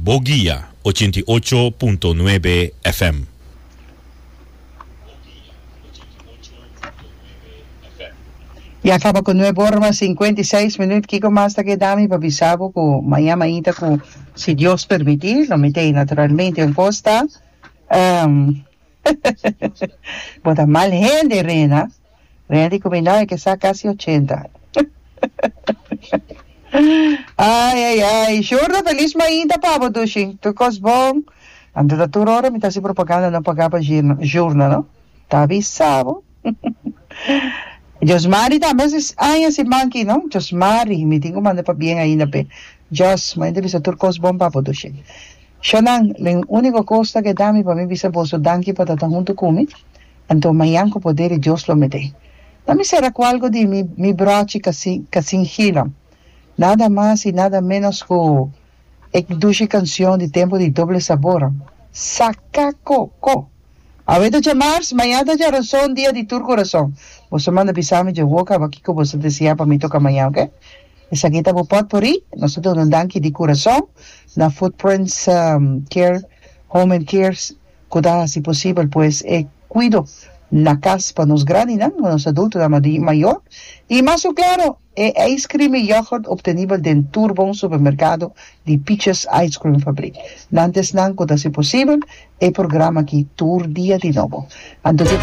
Bo Guia 88.9 FM. Ya kaba ku nuebe ora mas 56 minuut. Kiko mas ta keda mi pa bisa bo ku maña mainta ku si Dios permiti lo mi ta ei naturalmente un kos ta bo ta mal hende Rena. Rena di ku mi no e ke sa kasi ochenta. Ai ai ai Shurda felis mainta pa bo dushi tur kos bon. Anto ta tur ora mi ta hasi propaganda no paga pa Shurda no. Ta bisa bo. Josmari tambe hasi aña siman aki no. Josmari mi tin ku manda pabien ainda p'e. Jos, mi ta bisa tur kos bon pa bo dushi. Shonan, lo uniko kos ta keda mi pa mi bisa boso danki pa ta ta huntu ku mi. Anto mañan ku poder di Dios lo mete. Na mi sera ku algu di mi mi brochi kasin kasin gila. Nada mas i nada menos ku e dushi kansion di tempu di Doble Sabor, Saka ko ko. Awe ta djamars, mañan ta djaranson, dia di tur kurason. Boso manda bisa mi dje woka aba kiko boso deseá pa mi toka mañan, oke? Esaki ta bo potpourri. Nos ta duna un danki di kurason na Footprints Care Home and Care ku ta hasi posibel pues e kuido na kas pa nos grandinan, pa nos adultonan mayor, i mas ku klaro e ijskrim i yoghurt optenibel den tur bon supermerkado di Peaches Ice Cream Fabriek. Nan ta esnan ku ta hasi posibel e programa aki tur dia di nobo. Anto.